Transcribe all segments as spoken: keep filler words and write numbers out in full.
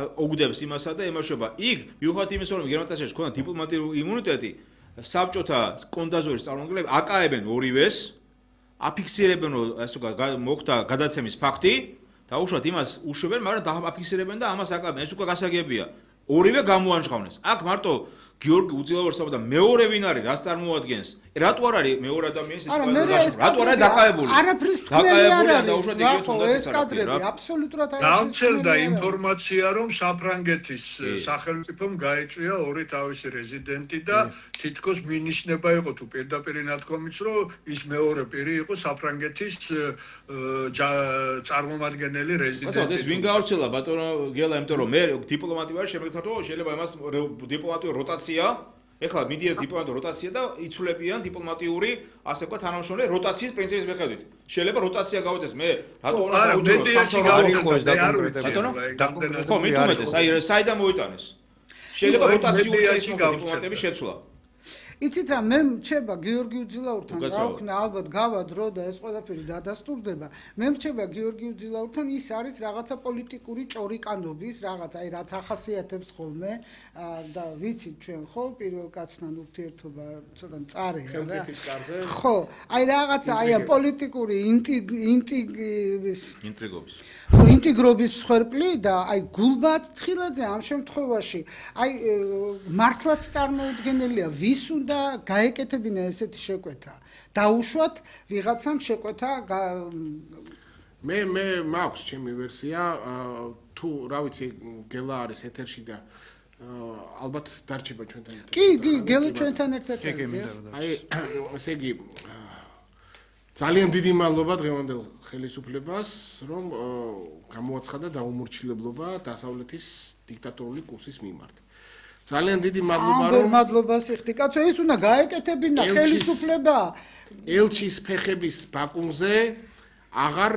ოგდებს იმასა და ემაშობა. იქ მიუხედავად იმისა, რომ გერმანიაში ქონდა დიპლომატიური იმუნიტეტი, საბჭოთა კონდაზვერის წარმომადგენლები აკაებენ ორივეს, აფიქსირებენ, რომ ასე ვთქვათ, მოხდა გადაცემის ფაქტი და უშუალოდ იმას უშვებენ, მაგრამ დააფიქსირებენ და ამას აკაებენ. ეს უკვე გასაგებია. ორივე გამოანჟღავნეს. აქ მარტო გიორგი უძილავერსაბა და მეორე ვინ არის, რას წარმოადგენს? რატო არ არის მეორე ადამიანის სიტუაცია? რატო არ არის დაკავებული? არაფრის თქმელი არ არის. ეს კადრები აბსოლუტურად არის. გამჩერდა ინფორმაცია, რომ საფრანგეთის სახელმწიფომ გაეწვია ორი თავისი რეზიდენტი და თითქოს მინიშნება იყო თუ პირდაპირ ნათქვამიც, რომ ის მეორე პირი იყო საფრანგეთის წარმომადგენელი რეზიდენტი. ეს ვინ გავრცელა ბატონო გელა, იმიტომ რომ მე დიპლომატი ვარ, შემეგეთათო შეიძლება იმას დიპლომატიური როტაცია ეხლა მიდიას დიპლომატიური როტაცია და იცვლებიან დიპლომატიური ასე ვთქვათ თანამშრომლები როტაციის პრინციპის მიხედვით. შეიძლება როტაცია გავიდეს მე რატო უნდა დაუჯერო სამთავრობო ბატონო? ხო, მithumetes, აი საიდან მოიტანეს. შეიძლება როტაციული დიპლომატები შეცვლა. იცით რა, მე მრჩება გიორგი უძილაურთან რა ვქნა, ალბათ გავა დრო და ეს ყველაფერი დადასტურდება. მე მრჩება გიორგი უძილაურთან ის არის რაღაცა პოლიტიკური ჭორიკანობის, რაღაც აი რაც ახასიათებს ხოლმე და ვიცით ჩვენ ხო პირველ კაცთან ურთიერთობა ცოტა მწარეა რა. ხელმწიფის კარზე. ხო, აი რაღაცა აი პოლიტიკური ინტრიგების ინტრიგობის. ინტეგრობის მსხვერპლი და აი გულბად ცხილაძე ამ შემთხვევაში აი მართლაც წარმოუდგენელია ვის უნდა გაეკეთებინა ესეთი შეკვეთა დაუშვათ ვიღაცამ შეკვეთა მე მე მაქვს ჩემი ვერსია თუ რა ვიცი გელა არის ეთერში და ალბათ დარჩება ჩვენთან ერთად კი კი გელა ჩვენთან ერთად აი ესე იგი ძალიან დიდი მადლობა დღევანდელ ხელისუფლებას, რომ გამოაცხადა დაუმორჩილებლობა დასავლეთის დიქტატორული კურსის მიმართ. ძალიან დიდი მადლობა რომ მადლობას იხდი. კაცო, ეს უნდა გაეკეთებინა ხელისუფლება. ელჩის ფეხების ბაკუნზე აღარ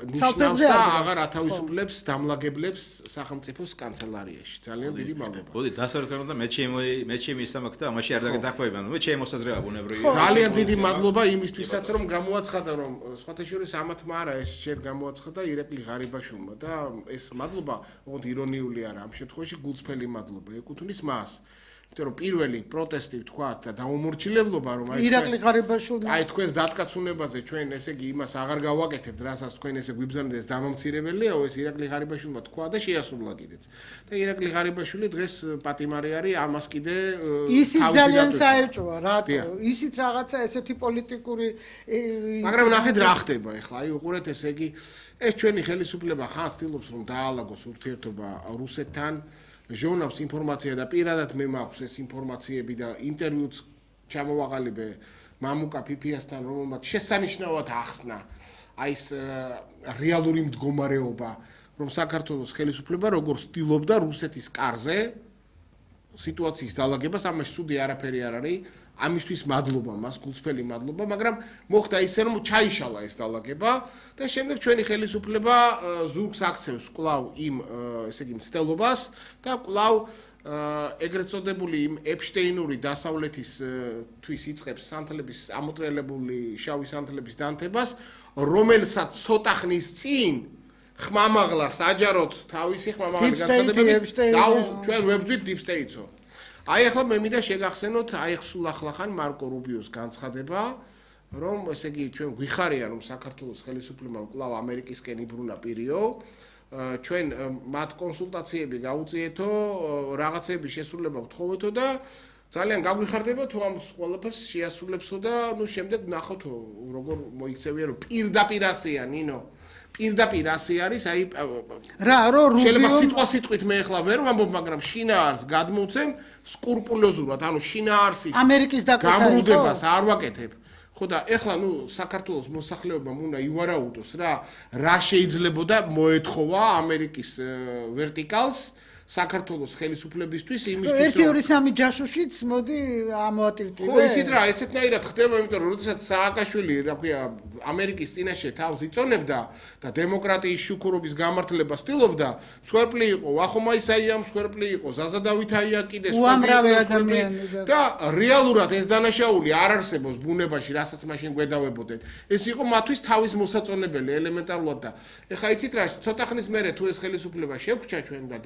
ნიშნავს და აღარ ათავისუფლებს დამლაგებლებს სახელმწიფოს კანცელარიაში. ძალიან დიდი მადლობა. მოდი დასარგებლო და მე ჩემი მე ჩემი ისამაკ და ამაში არ დაგეთაქვებიან. მე ჩემი მოსაზრება ბუნებრივია. ძალიან დიდი მადლობა იმისთვისაც რომ გამოაცხადა რომ სხვათა შორის ამათმა არა ეს ჯერ გამოაცხადა ირაკლი ღარიბაშვილმა და ეს მადლობა ოღონდ ირონიული არა ამ შემთხვევაში გულწრფელი მადლობა ეკუთვნის მას. იმიტომ რომ პირველი პროტესტი ვთქვათ და დაუმორჩილებლობა რომ აი ირაკლი ღარიბაშვილმა აი თქვენს დატკაცუნებაზე ჩვენ ესე იგი იმას აღარ გავაკეთებთ რასაც თქვენ ესე გვიბრძანეთ ეს დამამცირებელია ეს ირაკლი ღარიბაშვილმა თქვა და შეასრულა კიდეც და ირაკლი ღარიბაშვილი დღეს პატიმარი არის ამას კიდე ისიც ძალიან საეჭვოა რატო ისიც რაღაცა ესეთი პოლიტიკური მაგრამ ნახეთ რა ხდება ეხლა აი უყურეთ ესე იგი ეს ჩვენი ხელისუფლება ხან ცდილობს რომ დაალაგოს ურთიერთობა რუსეთთან ჟურნალს ინფორმაცია და პირადად მე მაქვს ეს ინფორმაციები და ინტერვიუც ჩამოვაყალიბე მამუკა ფიფიასთან რომელმაც შესანიშნავად ახსნა აი ეს რეალური მდგომარეობა რომ საქართველოს ხელისუფლება როგორ ცდილობდა რუსეთის კარზე სიტუაციის დაალაგებას ამაში ცუდი არაფერი არ არის ამისთვის მადლობა მას გულწრფელი მადლობა მაგრამ მოხდა ისე რომ ჩაიშალა ეს დაალაგება და შემდეგ ჩვენი ხელისუფლება ზურგს აქცევს კვლავ იმ ესე იგი მცდელობას და კვლავ ეგრეთ წოდებული იმ ეპშტეინური დასავლეთის თვის იწყებს სანთლების ამოტრელებული შავი სანთლების დანთებას რომელსაც ცოტა ხნის წინ ხმამაღლა საჯაროდ თავისი ხმამაღალი განცხადებებით ჩვენ ვებძვით დიპსტეიტსო აი ახლა მე მინდა შეგახსენოთ აი სულ ახლახან მარკო რუბიოს განცხადება რომ ესე იგი ჩვენ გვიხარია რომ საქართველოს ხელისუფლებამ კვლავ ამერიკისკენ იბრუნა პირიო ჩვენ მათ კონსულტაციები გაუწიეთო რაღაცების შესრულება ვთხოვეთო და ძალიან გაგვიხარდება თუ ამ ყველაფერს შეასრულებსო და ნუ შემდეგ ნახოთო როგორ მოიქცევია რომ პირდაპირ ასეა ნინო პირდაპირ ასე არის აი რა რო რუბიო შეიძლება სიტყვა სიტყვით მე ახლა ვერ ვამბობ მაგრამ შინაარს გადმოვცემ სკრუპულოზურად ანუ შინაარსის ამერიკის გამრუდებას არ ვაკეთებ ხო და ეხლა ნუ საქართველოს მოსახლეობამ უნდა ივარაუდოს რა რა შეიძლებოდა მოეთხოვა ამერიკის ვერტიკალს საქართველოს ხელისუფლებისთვის იმისთვის ერთი ორი სამი ჯაშუშიც მოდი ამოატირტივე. ხო, იცით რა, ესეთნაირად ხდება, იმიტომ რომ როდესაც სააკაშვილი, რა ქვია, ამერიკის წინაშე თავს იწონებდა და დემოკრატიის შუქურობის გამართლებას ცდილობდა, მსხვერპლი იყო ვახომა ისაიამ, მსხვერპლი იყო ზაზა დავითაია კიდე უამრავი ადამიანი და რეალურად ეს დანაშაული არ არსებობს ბუნებაში, რასაც მაშინ გვედავებოდნენ. ეს იყო მათთვის თავის მოსაწონებელი ელემენტარულად და ეხა იცით რა, ცოტა ხნის მერე თუ ეს ხელისუფლება შეგვჭა ჩვენ და